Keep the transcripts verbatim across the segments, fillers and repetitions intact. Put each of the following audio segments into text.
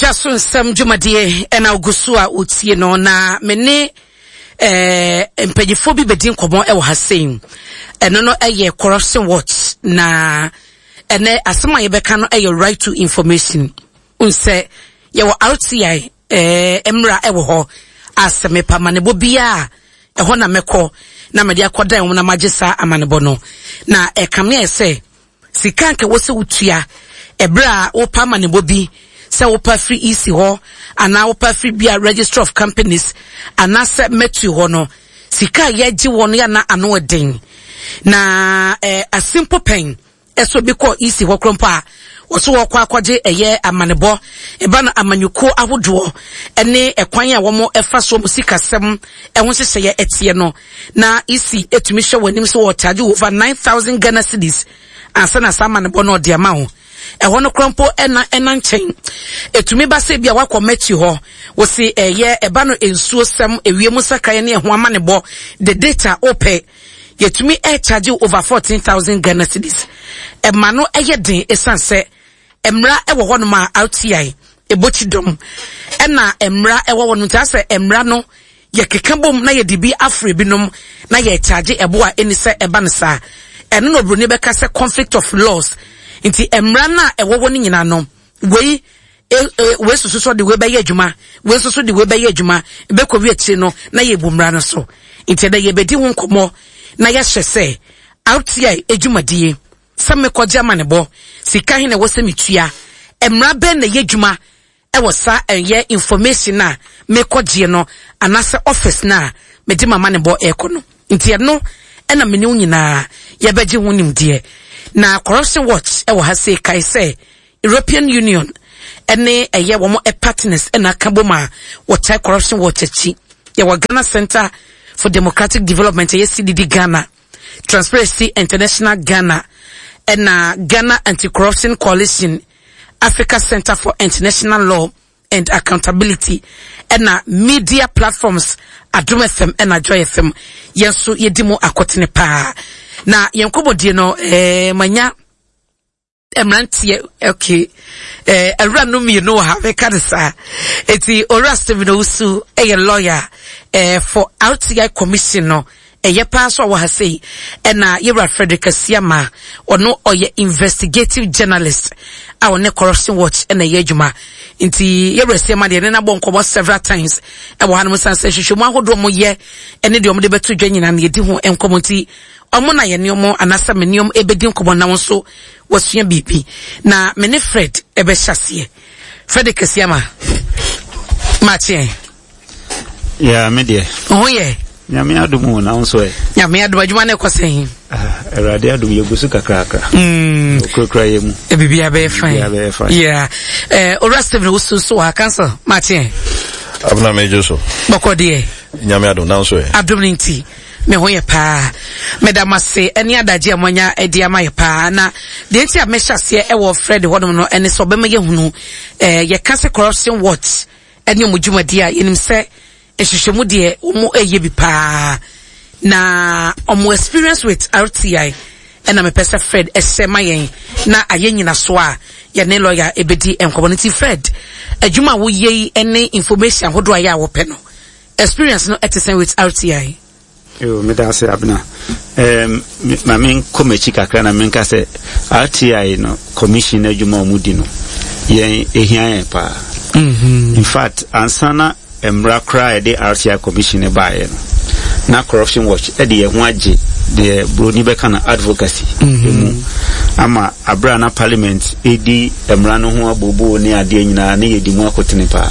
Edwa so nsɛm dwumadie ɛna ogu so a wotie no, na me ne eh, mpanyinfoɔ bi bɛdi nkɔmmɔ ɛwɔ ha sei. Ɛno no ɛyɛ Corruption Watch, na ɛnɛ asɛm a yɛbɛka no ɛyɛ right to information. Nsɛ yɛwɔ R T I eh, mmra ɛwɔ hɔ a sɛ mepa amanebɔ biara, ɛhɔ na mɛkɔ na mɛde akɔdan wɔn na magye saa amanebɔ no. Na ɛkame ayɛ sɛ sika nka wɔ sɛ wotua ɛberɛ a wopa amanebɔ bi, sɛ wopa firi E C hɔ anaa wopa firi bia Registrar of Companies anaasɛ mɛtu hɔ no, sika a yɛgye wɔ no yɛana ano ɛden. Na eh, a simple pen ɛsɛ obi kɔ E C hɔ koro mpo a wɔso wɔkɔ akɔgye ɛyɛ amanebɔ ɛba no, amanyɔkuo ahodoɔ ɛne ɛkwan a wɔn ɛfa so wɔn sikasɛm ɛho nhyehyɛeɛ ɛteɛ no, na E C etumi hwɛ wɔn anim sɛ wɔcharge over nine thousand Ghana cedis ansa na saa amanebɔ no ɔde ama wo. Ɛhɔ no kora mpo ɛna ɛna nkyɛn etumi ba sɛ bi a wakɔ mɛkyi hɔ, wɔsi ɛyɛ ɛba no nsuo sɛm, ewiem sakraeɛ ne ɛho amanebɔ, the data opɛ, yɛtumi ɛcharge over fourteen thousand Ghana cedis. Ɛma no ɛyɛ den esan sɛ mmara ɛwɔ hɔnom a R T I ebokyi dɔm, ɛna mmara ɛwɔ hɔnom nti asɛ mmara no yɛkeka bom na yɛde bi afro binom na yɛcharge ɛbo a ɛni sɛ ɛba no saa. Ɛno na oburoni bɛka sɛ conflict of laws. Nti mmara no a ɛwɔ hɔ no nyinaa no, wei e, e, wei soso so de wei bɛyɛ adwuma, wei nso so de wei bɛyɛ adwuma, bɛkɔ wi akyire no na yɛbu mmara no so. Nti ɛdɛ yɛbɛdi ho nkɔmmɔ na yɛahyɛ sɛ R T I adwumadie sɛ mekɔgye amanebɔ, sika he na ɛwɔ sɛ metua, mmara bɛn na ɛyɛ adwuma ɛwɔ saa ɛyɛ information a mekɔgyeɛ no anaasɛ office no a mede ma amanebɔ ɛrekɔ no. Nti ɛno ɛna mene wo nyinaa yɛbɛgye ho nimdeɛ. Na Corruption Watch ɛwɔ ha sei, kae sɛ European Union ɛne ɛyɛ wɔn partners ɛna aka bom a wɔkyɛ Corruption Watch akyi. Yɛwɔ Ghana Center for Democratic Development, ɛyɛ C D D Ghana, Transparency International Ghana, ɛna Ghana Anti-Corruption Coalition, Africa Center for International Law and Accountability, ɛna media platforms Adom F M ɛna Joy F M. Yɛn nso yɛdi mu akɔtene paa na yɛn nkɔmmɔdie no ɛɛ manya mmeranteɛ, okay, ɛɛ awura no mmienu wɔ ha, mɛka ne saa. Eti Owura Stephen Owusu ɛyɛ lawyer ɛɛ for R T I Commission no, ɛyɛ paa so a wɔ ha sei, ɛna yɛwura Frederick Asiama, ɔno ɔyɛ investigative journalist a ɔne Corruption Watch ɛna ɛyɛ adwuma. Nti yɛwura Asiama deɛ, ne nabɔ nkɔmɔ several times ɛwɔ hanom, san sɛ hwehwɛmu ahodoɔ mo yɛ ɛne deɛ ɔmo de bɛto dwa nyinaa no, yɛdi ho nkɔmɔ. Nti ɔmo na yɛ nneɛma anaasɛ me nneɛma ɛbɛdi nkɔmɔ na wɔn nso wɔsua biribi. Na me ne Fred ɛbɛhyɛ aseɛ. Frederick Asiama, maakyeɛ. Ya, me deɛ. Ho yɛ. Nyame adom o, na wo nso ɛ? Nyame adom, adwuma no ɛkɔ sɛn? Ah, Awurade adom, yɛgu so kakrakra. Mm. Okurakura yɛ mu. Biribiara bɛyɛ fine. Biribiara bɛyɛ fine. Yeah. Eh, Owura Stephen Owusu so wɔ ha, counsel, maakyeɛ. Abena, megye so. Bɔkɔ deɛ? Nyame adom, na nso ɛ? Adom no nti me ho yɛ paa. Meda mo ase ɛne adagye a moanya de ama yɛ paa. Na deɛ nti a mɛhyɛ aseɛ ɛwɔ Fred hɔnom no ɛne sɛ ɔbɛma yɛhunu eh, yɛka sɛ Corruption Watch ɛne ɔmo dwumadie a yɛnim sɛ nhwehwɛmu deɛ ɔmo ɛyɛ bi paa, na ɔmo experience with R T I ɛna mepɛ sɛ Fred ɛhyɛ ma yɛn na ayɛ nyinaso a yɛne lawyer ɛbɛdi nkɔmmɔ no. Nti Fred, adwuma a woyɛ yi ɛne information ahodoɔ a yɛ a wɔpɛ no, experience no ɛte sɛn with R T I? Yo, meda ase, Abena. um, ma menkɔ m'akyi kakra na menka sɛ R T I no, commission no adwuma a ɔmu di no, yɛn ɛhia yɛn paa. mm-hmm. In fact, ansa na mmara koraa a yɛde R T I commission no baeɛ no, na Corruption Watch ɛde yɛn ho agye deɛ buroni bɛka no advocacy mu ama aberɛ a na parliament ɛdi mmara no ho abooboo ne adeɛ nyinaa ne yɛdi mu akotene paa.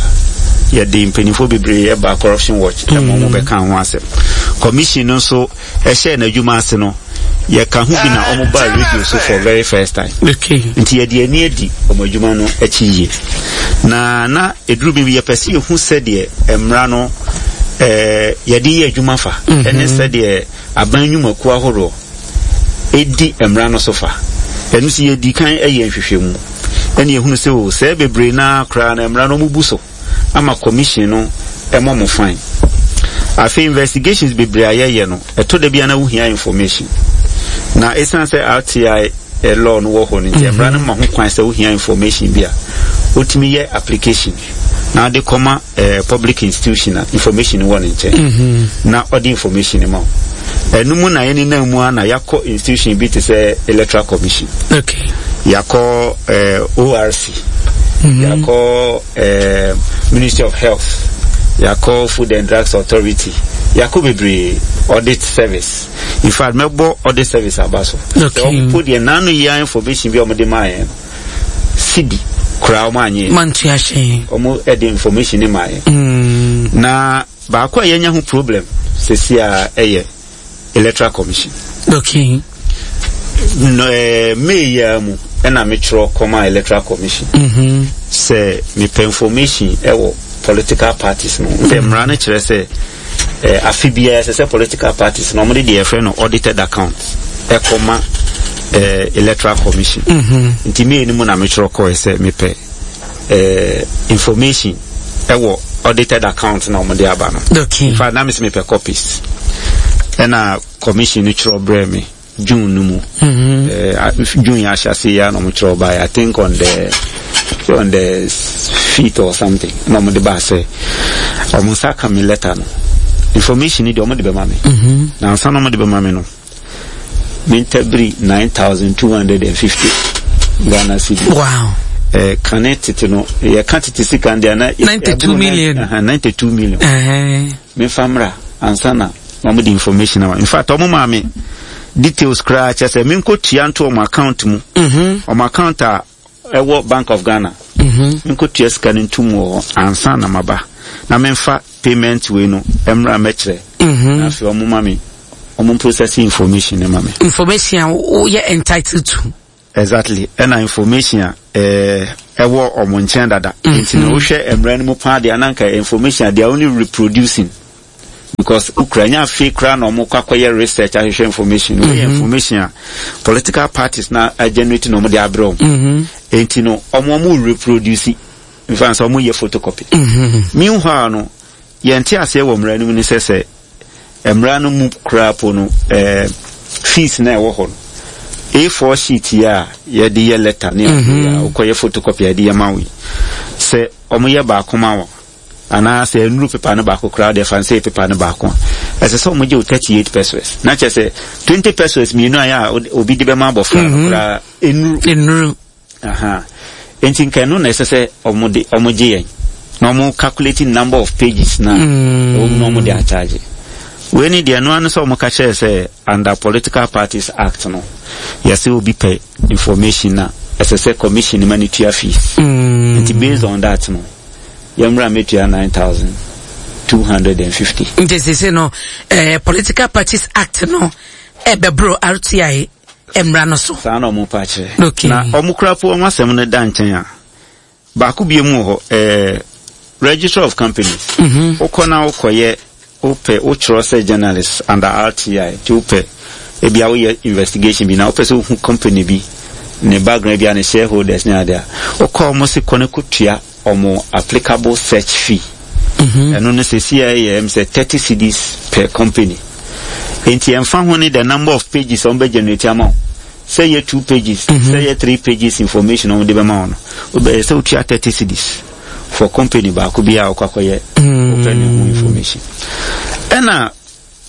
Yɛde mpanimfoɔ bebree ɛba Corruption Watch ɛma ɔmo bɛka ho asɛm. Commission no nso ɛhyɛɛ n'adwuma ase no, yɛka ho bi na ɔmo baa radio so for very first time. Okay nti yɛde ani adi ɔmo adwuma no akyi yie, na na eduru bi yɛpɛ sɛ yɛhu sɛdeɛ mmara no ɛɛ yɛde yɛ adwuma fa ɛne sɛdeɛ aban nnwumakuo ahoroɔ ɛdi mmara no so fa. Ɛno nso yɛdi kan ɛyɛ nhwehwɛmu ɛne yɛhunu sɛ o sɛ bebree naa koraa na mmara no ɔmo bu so ama commission no ɛmɔ mo fine. Afei investigations bebree a yɛyɛ no, ɛtɔ da bi a na wohia information, na ɛsiane sɛ R T I eh, law no wɔ hɔ no nti, mmara no ma ho kwan sɛ wohia information bi a, Wotumi yɛ application na ɔde kɔma eh, public institution a information wɔ ne nkyɛn mm -hmm. na ɔde information ma wo. Ɛno mu na yɛne nam mu a na yɛakɔ institution bi te sɛ Electoral Commission, okay. yɛakɔ eh, O R C, mm -hmm. yɛakɔ eh, Ministry of Health, yɛakɔ Food and Drugs Authority, yɛakɔ bebree, Audit Service. In fact, mɛbɔ Audit Service aba so. Okay. Sɛ ɔmpo deɛ nano yia information bi a ɔmode maa yɛn no, cedi koraa ɔmo anyɛ. Mantua hyɛn. Ɔmo ɛde information ne maa yɛn. mm. Na baako a yɛnya ho problem sɛsi a ɛyɛ Electoral Commission. Okay no, eh, May yi ara mu ɛna metwerɛ kɔma Electoral Commission mm -hmm. sɛ mepɛ information ɛwɔ political parties no sɛ mmara no kyerɛ sɛ eh, afe biara ɛsɛ sɛ political parties no ɔmode deɛ yɛfrɛ no audited account ɛkɔma eh, Electoral Commission. mm -hmm. Nti May no mu na metwerɛ kɔɛ sɛ mepɛ eh, information ɛwɔ audited account na ɔmode aba no. Okay in fact, na mesɛ mepɛ copies, ɛna commission no twerɛ brɛ me June no mu. mm -hmm. eh, June yɛ ahyɛse yi a na ɔmo twerɛ baeɛ, I think on the on the fifth or something, na ɔmo de baa sɛ ɔmo nsa ka me letter no, information ni deɛ ɔmo de bɛma me. mm -hmm. Na ansa na ɔmo de bɛma me no, mentabiri nine thousand two hundred and fifty Ghana cedi. Wow eh, kane tete no, yɛka tete sika deɛ na ninety-two million. ninety-two million. uh-huh. Memfa mmra ansa na ɔmo de information ama. In fact, ɔmo maa me details koraa kyerɛ sɛ menkɔtua nto ɔmo account mu, mm-hmm. ɔmo account a ɛwɔ Bank of Ghana. Mm-hmm. Menkɔtua sika no ntom wɔ hɔ ansa na maba na memfa payment wei no mmra mɛkyerɛ. Mm-hmm. Na afei ɔmo ma me, ɔmo process information no ma me. Information a woyɛ entitled to. Exactly, ɛna information a ɛɛ ɛwɔ ɔmo nkyɛn dada. Nti na wohwɛ mmerɛ no mu paa deɛ, ananka information a they are only reproducing because okura nya afei koraa na ɔmo kɔ akɔyɛ research ahwehwɛ information no. Wɔyɛ information a political parties na generate na ɔmo de abrɛ ɔmo. Nti no ɔmo ɔmo reproduce, nfa sɛ ɔmo yɛ photocopy. Meanwhile no, yɛn te aseɛ wɔ mmara no mu ne sɛ sɛ mmara no mu koraa po no, ɛɛ fees na ɛwɔ hɔ no, A four sheet yi a yɛde yɛ letter ne adeɛ a wokɔyɛ photocopy a yɛde yɛ ma wo yi, sɛ ɔmo yɛ baako ma wo anaa sɛ nnuru paper no baako koraa deɛ, fa nsɛ paper no baako a, ɛsɛ sɛ ɔmo gye wo thirty eight pesewas, na kyerɛ sɛ twenty pesewas mmienu a yɛ a obi de bɛma abɔfra no koraa nnuru. Nnuru. Aha, nti nka ɛno na ɛsɛ sɛ ɔmo de ɔmo gye yɛn na ɔmo calculate number of pages na ɛwɔ mu na ɔmo de akyagye wei ni deɛ. Ɛno ano sɛ ɔmo ka kyerɛ sɛ under Political Parties Act no, yɛsɛ obi pɛ information na ɛsɛ sɛ commission ma ne tua fees. Nti based on that no, yɛmmra mɛtua nine thousand two hundred and fifty. Nti sese no, eh, Political Parties Act no ɛbɛboro R T I mmara no so. Saa na ɔmo pa kyerɛ. Okay. Na ɔmo kora po, ɔmo asɛm no da nkyɛn a, baako bie mu wɔ hɔ, ɛɛ Registrar of Companies. Wokɔ na wokɔyɛ, wopɛ wotwerɛ sɛ journalist under R T I, nti wopɛ ebia woyɛ investigation bi na wopɛ sɛ wohu company bi ne background bi a ne shareholders ne adeɛ a, wokɔ, ɔmo se kɔ ne kɔtua ɔmo applicable search fee. Ɛno no sɛsi a ɛyɛ ɛm sɛ thirty cedis per company. Nti ɛmfa ho ne the number of pages a wɔn bɛ generate ama wo, sɛ yɛ two pages, sɛ yɛ three pages information a wɔn de bɛma wo no, wobɛyɛ sɛ wotua thirty cedis for company baako bi a wɔkɔ akɔyɛ wopɛ ne ho information. Ɛna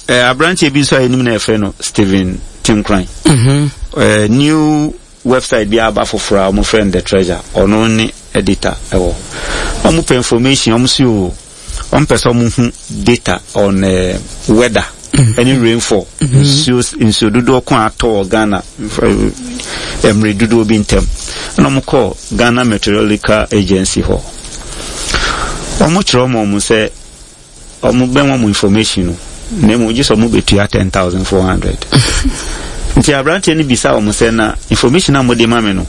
ɛɛ aberanteɛ bi nso a yɛnim na yɛfrɛ no Stephen Tinkran, ɛɛ new website bi aba foforɔ a wɔfrɛ no The Treasure, ɔno ne editor ɛwɔ hɔ. Wɔn pɛ information, wɔn si o wɔn pɛ sɛ wɔn hu data on uh, weather ɛne rainfall, nsuo nsuo dodoɔ ko a atɔ wɔ Ghana eh, mmerɛ dodoɔ bi ntɛm. Ɛna wɔn kɔ Ghana Meteorological Agency hɔ, wɔn kyerɛ wɔn wɔn sɛ wɔn bɛn wɔn information no, na emu gye sɛ wɔn bɛtua ten thousand four hundred. Nti aberanteɛ no bisa wɔn sɛ, na information a wɔde ma me no,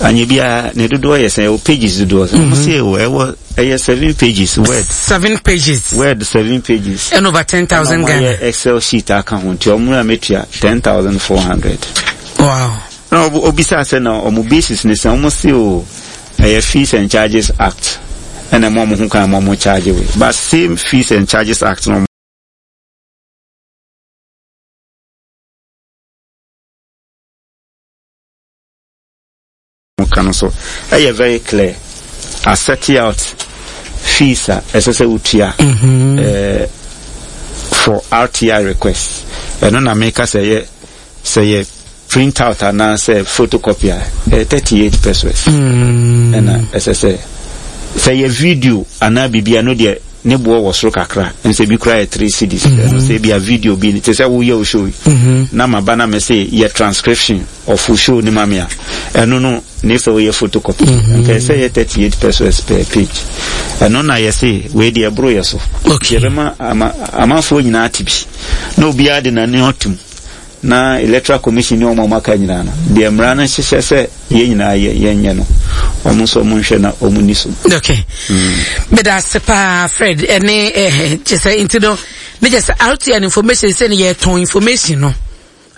anya biara ne dodoɔ yɛ sɛ ɛwɔ pages dodoɔ sɛ? Wɔn sɛ ɛwɔ ɛwɔ ɛyɛ seven pages Word. Seven pages. Word, seven pages. And over ten thousand Ɛna wɔn Ghana. ayɛ Excel sheet aka ho, nti wɔn a mɛtua ten thousand four hundred. Wow Na obisa sɛ na ɔmo basis ne sɛ? Ɔmo se o ɛyɛ Fees and Charges Act ɛna ɛmo ɔmo ho kwan ma ɔmo charge wei, but same Fees and Charges Act na ɔmo ka no so ɛyɛ very clear. Aset out fees a ɛsɛ sɛ wotua mm-hmm. eh, for R T I request. Ɛno na meka sɛ yɛ sɛ yɛ print out anaasɛ photocopy a, ɛyɛ thirty eight pesewas. mm. Ɛna ɛsɛ sɛ sɛ yɛ video anaa biribi a, no deɛ ne boɔ wɔ soro kakra, nsɛ bi koraa yɛ three cedis. Ɛno sɛ bi a video bi te sɛ woyɛ wo show yi na ma ba na me se yɛ transcription of wo show ne ma me a, ɛno no ne sɛ woyɛ photocopy nka ɛsɛ yɛ thirty eight pesewas per page. Ɛno na yɛse wei deɛ ɛboro yɛ so. Okay. Yɛbɛma ama amanfoɔ nyinaa te bi na obiara de n'ani atum na Electoral Commission ne wɔn a wɔaka nyinaa no deɛ, mmara no hyehyɛ sɛ yɛn nyinaa yɛ yɛnyɛ no, wɔn nso wɔn nhwɛ na wɔn ni so. Okay, meda ase paa, Fred. Ɛne ɛɛ kyɛ sɛ nti no ne kyɛ sɛ R T I information sɛ ne yɛtɔn information no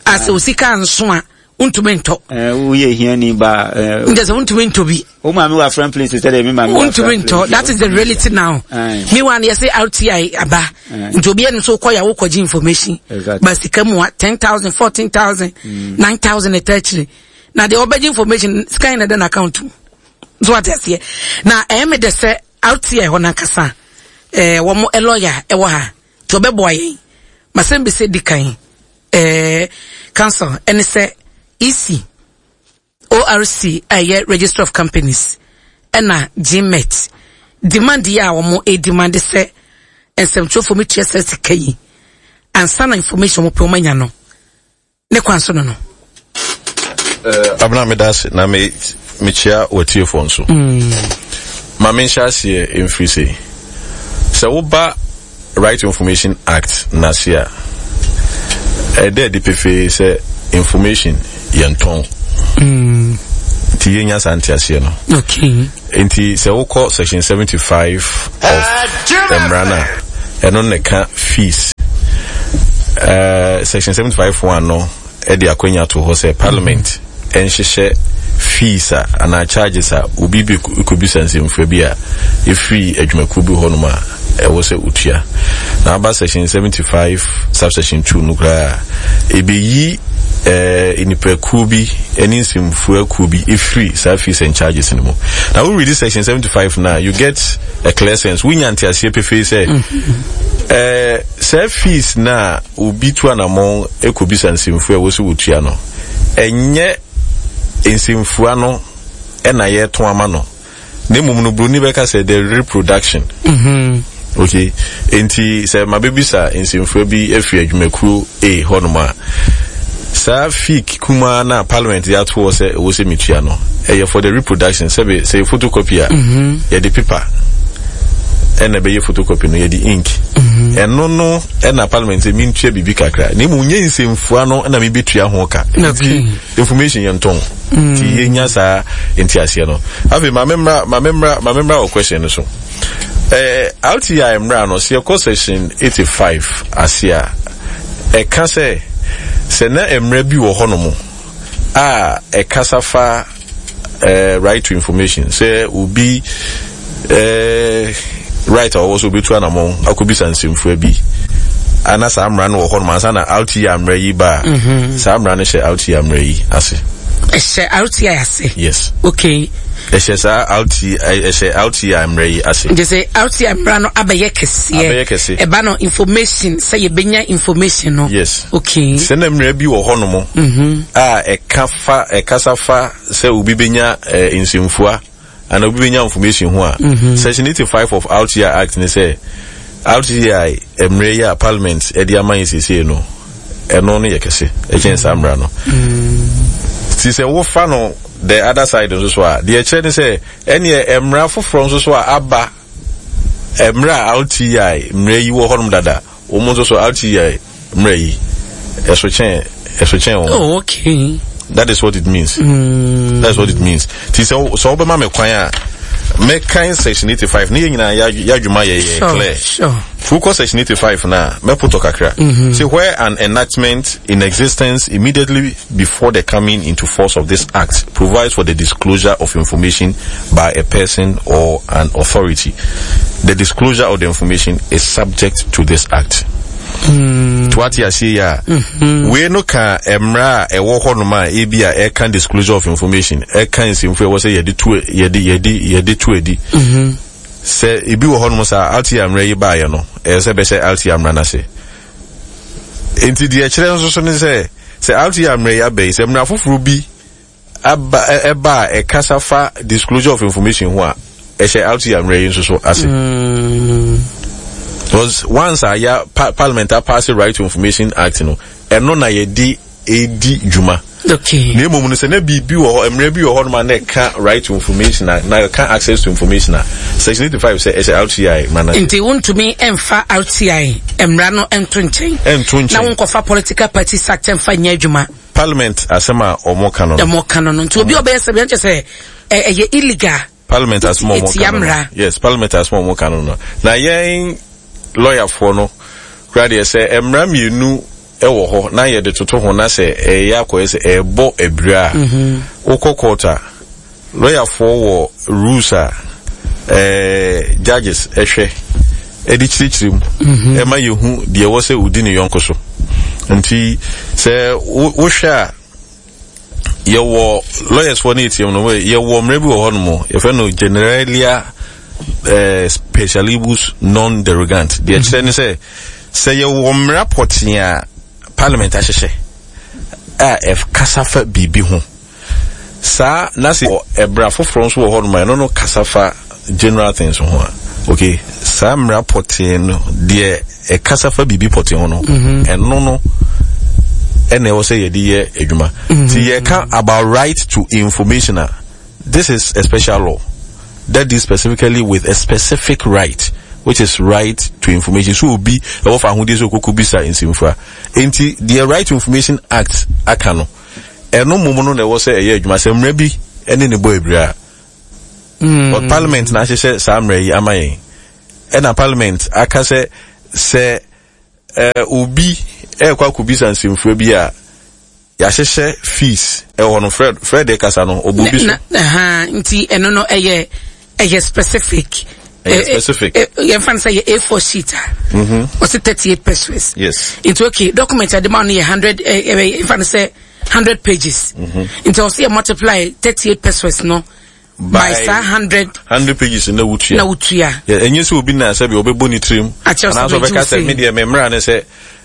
asɛ osika nso a wontumi ntɔ. Ɛɛ, woyɛ hiani ba. Ɛɛ, nkyɛ sɛ wontumi ntɔ bi. Wo maame wɔ Afram Plains sɛ deɛ me maame wɔ Wontumi ntɔ. That is the reality now. Meanwhile yɛsɛ R T I aba nti obi ɛno nso kɔ yɛ wokɔgye information ba sika mu a ten thousand, fourteen thousand, nine thousand ɛta akyire na deɛ ɔbɛgye information sika yɛn na ɛda n'account mu so ate aseɛ. Na ɛyɛ me dɛ sɛ R T I hɔ n'ankasa ɛɛ wɔn lawyer ɛwɔ ha nti ɔbɛboa yɛn. Masɛm bi sɛ di kan, ɛɛ counsel, ɛne sɛ E C, O R C a ɛyɛ Registrar of Companies ɛna GMet demand yi a wɔn demand sɛ nsɛmtwerɛfoɔ mi tua sɛ sika yi ansa na information wɔn pɛ wɔn anya no ne kwan so no no. Abena, meda ase na me mekyia watiefoɔ nso. Ma menhyɛ aseɛ mfiri sei: sɛ woba Right Information Act n'ase a, ɛdɛ adi pefee sɛ information yɛntɔn, nti yɛnya saa nteaseɛ no. Okay. Nti sɛ wokɔ section seventy-five of mmara no a, ɛno ne ka fees. uh, section seventy-five one no ɛde akwanya to hɔ sɛ Parliament ɛnhyehyɛ fees a anaa charges a obi bi kɔbisa nsɛmfua bi a ɛfiri adwumakuo bi hɔnom a ɛwɔ sɛ otua. Na aba section seventy-five subsection two no koraa, ɛbɛyi eh, nipakuo bi ne nsɛmfua kuo bi ɛfiri saa fees and charges no mu. Na wo read section seventy-five na you get a clear sense, wonya nteaseɛ pefee sɛ eh, saa fees na obi tu anammɔn ɛkɔbisa nsɛmfua a ɛwɔ sɛ wɔtua no, ɛnyɛ nsɛmfua no ɛna yɛto ama no, na mmom no buroni bɛka sɛ the reproduction. mm-hmm. Okay, nti sɛ mabɛbisa nsɛmfua bi afiri adwumakuo A hɔnom a, saa fee kumaa na Parliament de ato hɔ sɛ ɛwɔ sɛ metua no, ɛyɛ for the reproduction. Sɛbe sɛ yɛ photocopy a, yɛde paper ɛna ɛbɛyɛ photocopy no, yɛde ink. Ɛno no ɛna Parliament sɛ mentua biribi kakra, na mmom nyɛ nsɛmfua no ɛna mebɛtua ho ka. Nti information yɛntɔn, nti yɛnya saa nteaseɛ no. Afei ma memmra ma memmra ma memmra wɔ question no so. ɛɛ R T I mmra no, sɛ yɛkɔ section eighty-five ase a, ɛka sɛ sɛ na mmerɛ bi wɔ hɔnom a ɛkasa fa ɛɛ right to information, sɛ obi ɛɛ right a ɔwɔ so obetu anamɔn akɔbisa nsɛmfua bi ana, saa mmara no wɔ hɔnom ansa na R T I mmara yi ba a, saa mmara no hyɛ R T I mmara yi ase. Ɛhyɛ R T I ase? Yes. Okay. Ɛhyɛ saa R T I, ɛhyɛ R T I mmara yi ase. Nti sɛ R T I mmara no abɛyɛ kɛseɛ. Abɛyɛ kɛse. Ɛba no information sɛ yɛbɛnya information no. Yes. Okay. Sɛ na mmara bi wɔ hɔnom a ɛka fa ɛkasa fa sɛ obi bɛnya eh, nsɛmfua ana obi bɛnya information ho a, section eighty-five of R T I Act ne sɛ R T I mmerɛ yi a Parliament ɛde ama yɛ seesei no, ɛno no yɛ kɛse ɛkyɛn saa mmara no. Nti sɛ wofa no the other side nso so a, deɛ ɛkyerɛ ne sɛ ɛneɛ mmara foforɔ nso so a aba mmerɛ a R T I mmerɛ yi wɔ hɔnom dada, wɔn nso so R T I mmerɛ yi ɛso kyɛn ɛso kyɛn wɔn. Oh, okay. That is what it means. Mm. That is what it means. Ti sɛ sɛ ɔbɛma me kwan a, mɛkan section eighty five ne yɛn nyinaa yɛ adwuma yɛ yɛ sure, clear. Sure. Fukɔ section eighty five na mɛpotɔ kakra. Mm-hmm. Say where an enactment in existence immediately before the coming into force of this act provides for the disclosure of information by a person or an authority, the disclosure of the information is subject to this act. Mm. To ate aseɛ yi a, mm-hmm. wei no ka mmara a ɛwɔ hɔnom a ebi a ɛka disclosure of information, ɛka nsɛmfo ɛwɔ sɛ yɛde to yɛde yɛde yɛde to adi. Mm-hmm. Sɛ ebi wɔ hɔnom saa R T I mmara yi baeɛ no, ɛyɛ sɛ bɛhyɛ R T I mmara no ase. Nti deɛ ɛkyerɛ nso so ne sɛ sɛ R T I mmara yi aba yi, sɛ mmara foforɔ bi aba, ɛba a ɛkasa fa disclosure of information ho a, ɛhyɛ R T I mmara yi nso so ase. Mm. Because once a ya pa parliament a pass Right to Information Act no, ɛno na yɛde edi dwuma. Okay. Na mmom no, sɛ na biribi wɔ hɔ, mmerɛ bi wɔ hɔ nom a na ɛka right to information a, na ɛka access to information a, section eighty five sɛ ɛhyɛ R T I mmara no. Nti wontumi mfa R T I mmara no nto nkyɛn. Ɛnto nkyɛn. Na wonkɔfa Political Parties Act mfa nyɛ adwuma. Parliament asɛm a ɔmo ka no no. Ɔmo ka no no. Nti obi a ɔbɛyɛ sɛ bi ɛnkyɛ sɛ ɛyɛ illegal. Parliament asɛm a ɔmo ka no no. Yes, parliament asɛm a ɔmo ka no no. Na yɛn lɔyafoɔ no kura deɛ, sɛ mmara mmienu ɛwɔ hɔ na yɛde toto ho na sɛ ɛyɛ akɔyɛ sɛ ɛbɔ abira a, mhm. wokɔ court a, lɔyafoɔ wɔ rules a ɛɛ judges ɛhwɛ ɛde kyerɛkyerɛ mu mhm. ɛma yɛhu deɛ ɛwɔ sɛ odi ne yɔnko so. Nti sɛ wohwɛ a, yɛwɔ lawyers foɔ no etiam no, yɛwɔ mmerɛ bi wɔ hɔ nom yɛfrɛ no generalia eh, specialibus non derogant. Deɛ kyerɛ ne sɛ sɛ yɛwɔ mmara pɔtee a parliament ahyehyɛ a ɛkasa fa biribi ho saa, na sɛ ɛbra foforɔ nso wɔ hɔ nom a ɛno no kasa fa general things ho a, okay, saa mmara pɔtee no deɛ ɛkasa fa biribi pɔtee ho no, mhm. ɛno no ɛna ɛwɔ sɛ yɛde yɛ adwuma. Nti yɛka about right to information a, this is a special law that deals specifically with a specific right, which is right to information. So obi ɛwɔ fa ahodie sɛ okoko bisa nsɛmfua. Nti deɛ Right to Information Act aka no, ɛno mmom no na ɛwɔ sɛ ɛyɛ adwuma sɛ mmerɛ bi ɛne ne bɔ ebire a. Mm. But parliament na ahyehyɛ saa mmerɛ yi ama yɛn, ɛna parliament aka sɛ sɛ ɛɛ obi ɛrekɔ akɔbisa nsɛmfua bi a, yɛahyehyɛ fees ɛwɔ hɔ no. Fred Fred kasa no, ɔbɔ bi so. Nti ɛno no ɛyɛ ɛyɛ specific. Ɛyɛ specific. Yɛmfa no sɛ yɛ A four sheet a, ɔsɛ thirty eight pesewas. Yes. Nti okay, document a de ma no yɛ hundred, yɛmfa no sɛ hundred pages. Nti ɔsɛ yɛ multiply thirty eight pesewas no by saa hundred. Hundred pages na wotua. Na wotua. Ɛnyɛ sɛ obi na sɛbi ɔbɛbɔ ne tirim anaasɛ ɔbɛka sɛ me deɛ me mmara ne sɛ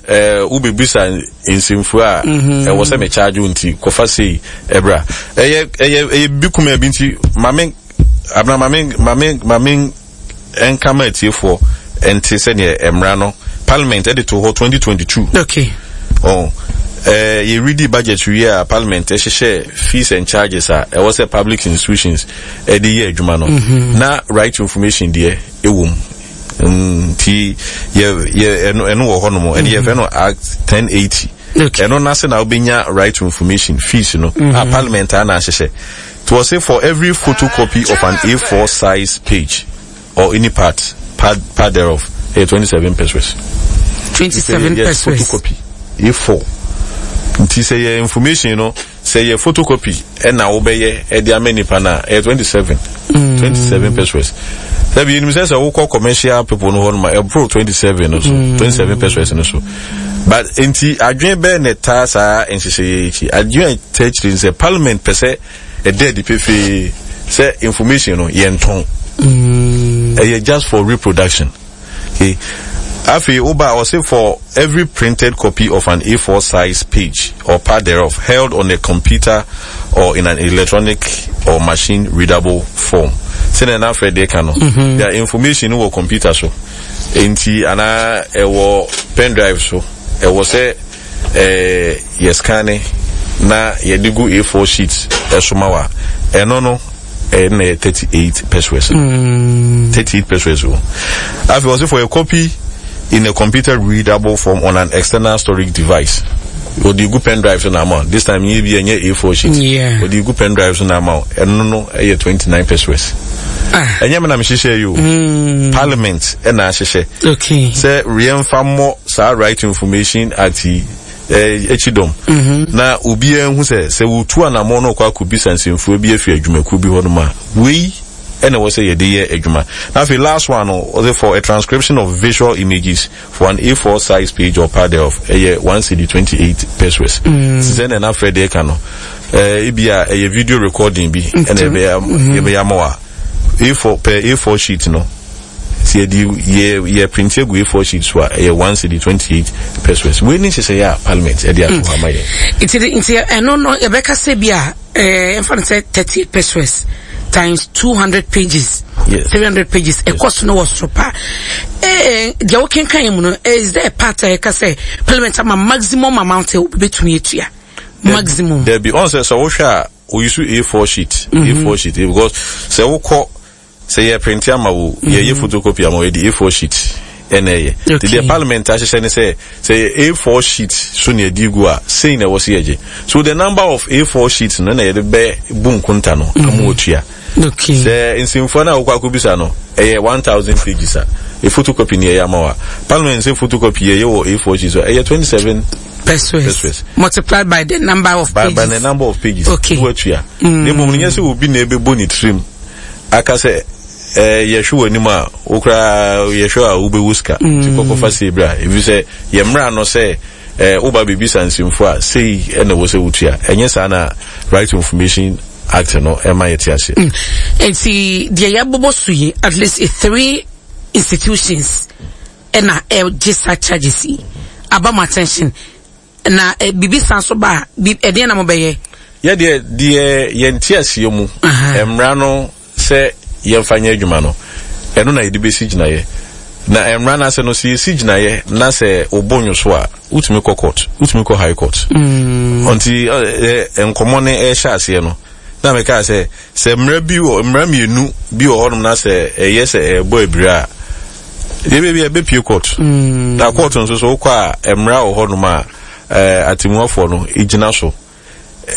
ɛɛ wobɛbisa nsɛmfua a, ɛwɔ sɛ me charge wo, nti kɔfa sei ɛbra. Ɛyɛ ɛyɛ ɛyɛ bi kuma bi. Nti maame abena, maame maame maame nka ma atiefoɔ nte sɛdeɛ mmara no parliament ɛde to hɔ twenty twenty-two. Okay. Oh, ɛɛ yɛredi budget wie a, parliament ɛhyehyɛ fees and charges a ɛwɔ sɛ public institutions ɛde yɛ adwuma no, na right to information deɛ ɛwɔ mu. Nti yɛ yɛ ɛno ɛno wɔ hɔnom, ɛne yɛfrɛ no Act ten eighty. Okay. Ɛno n'ase na wobɛnya right to information fees no a parliament a na ahyehyɛ to wɔ say for every photocopy of an A four size page or any part part part thereof, ɛyɛ twenty-seven pesewas. Twenty seven Yes. pesewas. Photocopy A four. Nti sɛ yɛ information no, sɛ yɛ photocopy ɛna wobɛyɛ ɛde ama nipa no a, ɛyɛ twenty-seven twenty-seven pesewas. Sɛbi yɛnim sɛ sɛ wokɔ commercial people no hɔ nom a, ɛboro twenty-seven no so, twenty-seven pesewas no so. But nti adwene bɛɛ na ɛtaa saa nhyehyɛeɛ yi akyi? Adwene a ɛtaa akyire ne sɛ parliament pɛ sɛ ɛda adi pefee sɛ information no yɛntɔn, ɛyɛ just for reproduction. Okay, afei woba a, ɔse for every printed copy of an A four size page or part thereof held on a computer or in an electronic or machine readable form. Sɛnea na afɛ deɛ ka no, their information no wɔ computer so nti anaa ɛwɔ pen drive so, ɛwɔ sɛ ɛɛ yɛ scan na yɛde gu A four sheet ɛso ma wa, ɛno no ɛyɛ na yɛ thirty-eight pesewas, thirty-eight pesewas o. Afei ɔsɛ for a copy in a computer readable form on an external storage device, ɔde gu pen drive so na ama wo. This time nye bi ɛnyɛ A four sheet. Yeah. Ɔde gu pen drive so na ama wo, ɛno no ɛyɛ twenty-nine pesewas. Ah. Ɛnyɛ me na mehyehyɛ yi o, parliament ɛna ahyehyɛ Okay. sɛ yɛmfa mmɔ saa Right to Information Act yi eh, akyi dɔm na obiara hu sɛ sɛ wotu anammɔn no ɔkɔ akɔbisa nsɛmfua bi afi adwumakuo bi hɔ nom a, wei Ɛna ɛwɔ sɛ yɛde yɛ adwuma. Na afei last one no, ɔsɛ for a transcription of visual images for an A four size page or part thereof, ɛyɛ one cedi twenty-eight pesewas. Mm. Sɛ na ɛna afrɛ deɛ ka no, ɛɛ ebi a ɛyɛ video recording bi ɛna ɛbɛyɛ yɛbɛyɛ ama wa A four per A four sheet no, sɛ yɛde yɛ yɛ print agu A four sheet so a, ɛyɛ one cedi twenty-eight pesewas. Wei ne nhyehyɛeɛ a Parliament ɛde ato hɔ ama yɛn. nti nti ɛno no, yɛbɛka sɛ bi a ɛɛ ɛmfa no sɛ thirty eight pesewas times two hundred pages, Yes. three hundred pages, ɛkɔ so no wɔ soro pa. ɛɛ deɛ wokenkan mu no, is there a part a yɛka sɛ Parliament ama maximum amount a obi bɛtumi atua, maximum? Dabi, ɔn sɛ sɛ wohwɛ a, oyi so A four sheet, A four sheet, because sɛ wokɔ sɛ yɛ print ama wo, yɛyɛ photocopy ama wo, yɛde A four sheet ɛna ɛyɛ. Nti Okay. deɛ Parliament ahyehyɛ ne sɛ sɛ yɛ A four sheet so na yɛde gu a, sei na ɛwɔ sɛ yɛgye. So the number of A four sheets no na yɛde bɛ bu nkonta no ama otua. Okay sɛ nsɛmfua no a wokɔ akɔbisa no ɛyɛ one thousand pages a, ɛ photocopy ne yɛyɛ ama wo a, Parliament sɛ photocopy yɛyɛ wɔ A four sheet so a, ɛyɛ twenty-seven pesewas pesewas. Multiplied by the number of by, pages. By the number of pages. Okay. Na watua. Na mmom no, nyɛ sɛ obi na ɛbɛbɔ ne tirim aka sɛ eh, yɛhwɛ w'anim a, wo koraa yɛhwɛ a wobɛwu sika nti kɔkɔfa sei berɛ a, ɛfiri sɛ yɛ mmara no sɛ eh, woba bɛbisa nsɛmfo a, sei ɛna ɛwɔ sɛ wotua. Ɛnyɛ saa na Right to Information Act no ɛma yɛte aseɛ. Nti deɛ yɛabobɔ so yi, at least three institutions ɛna ɛgye saa charges yi aba mo attention na eh, biribi san so ba a, bi ɛdeɛn na mobɛyɛ? Yɛdeɛ deɛ yɛnte aseɛ mu, Aha. mmara no sɛ yɛmfa nyɛ adwuma no, ɛno na yɛde bɛsi gyinaeɛ. Na mmara no ase no, sɛ yɛsi gyinaeɛ na sɛ wobɔ nwo so a, wotumi kɔ court, wotumi kɔ High Court. Ɔnti ɛ, ɛ, nkɔmmɔ no ɛhyɛ aseɛ no na mekaa sɛ sɛ mmara bi wɔ, mmara mmienu bi wɔ hɔnom na sɛ ɛyɛ sɛ ɛbɔ abira a, deɛ baabi a ɛbɛpie court, na court nso so wokɔ a, mmara wɔ hɔnom a ɛɛ, atemmuafoɔ no gyina so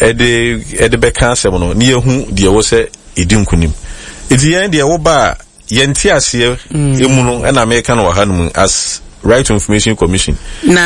ɛde ɛde bɛka asɛm no ne yɛhu deɛ ɛwɔ sɛ ɛdi nkonim. Nti yɛn deɛ, woba a, yɛnte aseɛ emu no ɛna meka no wɔ ha no mu as Right to Information Commission. Na